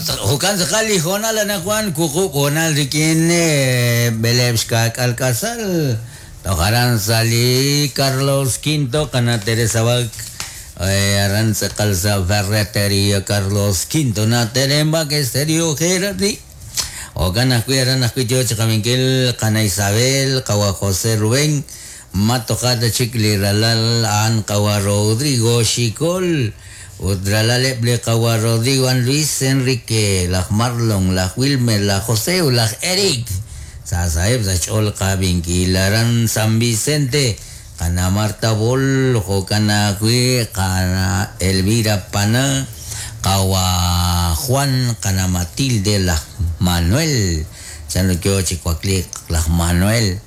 Jo'kan tz'aqal li hoonal anaqwan wuqub' hoonal rik'in b'eleeb' xka'k'aal k'asal toj aran sa' li Carlos Quinto qana' Teresa Bak aran tz'aqal sa' Ferreteria Carlos Quinto na Teren Bak Estéreo Gerardi jo'kan ajwi' aran ajwi' yo chi qabinkil qana' Isabel qawa' José Rubén ma toja' ta chik li ralal a'an qawa' Rodrigo Xicol ut ralaleb' li qawa' Rodrigo a'an Luis Enrique laj Marlon laj Wilmer laj José ut laj Eric sa' saheb' sa' xch'ool qabinkil aran San Vicente qana' Marta Bol jo'kan ajwi' qana' Elvira Pana qawa' Juan qana' Matilde laj Manuel chanru yo chi wakliik laj Manuel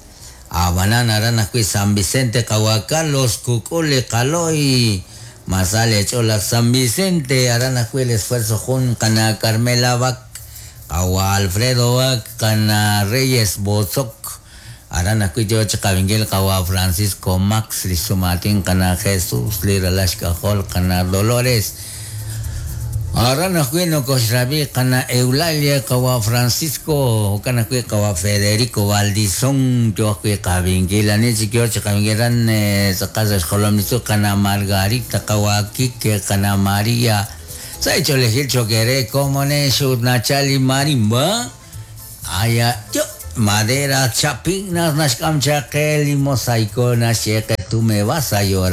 ab'anan aran ajwi' San Vicente qawa' Carlos kuk'ul li qalo'y masal eech'ool laj San Vicente aran ajwi' el esfuerzo jun qana' Carmela Bak qawa' Alfredo Bak qana' Reyes Botzok aran ajwi' yo chi qabinkil qawa' Francisco Max li xsumaatin qana' Jesus li ralal xk'ajol qana' Dolores aran ajwi' nokoxrabi qana' Eulalia qawa' Francisco jo'kan ajwi' qawa' Federico Valdizón yo ajwi' qabinkil ani chik yo chi qabinkil aran tz'aqal sa' xjolom li tzuul qana' Margarita qawa' Kike qana' María sa' xch'oolejil cho'q eere komonex ut nachal li marimba aya yo madera chapinas naxk'am chaq qe li mosaico naxye qe tú me vas a llorar.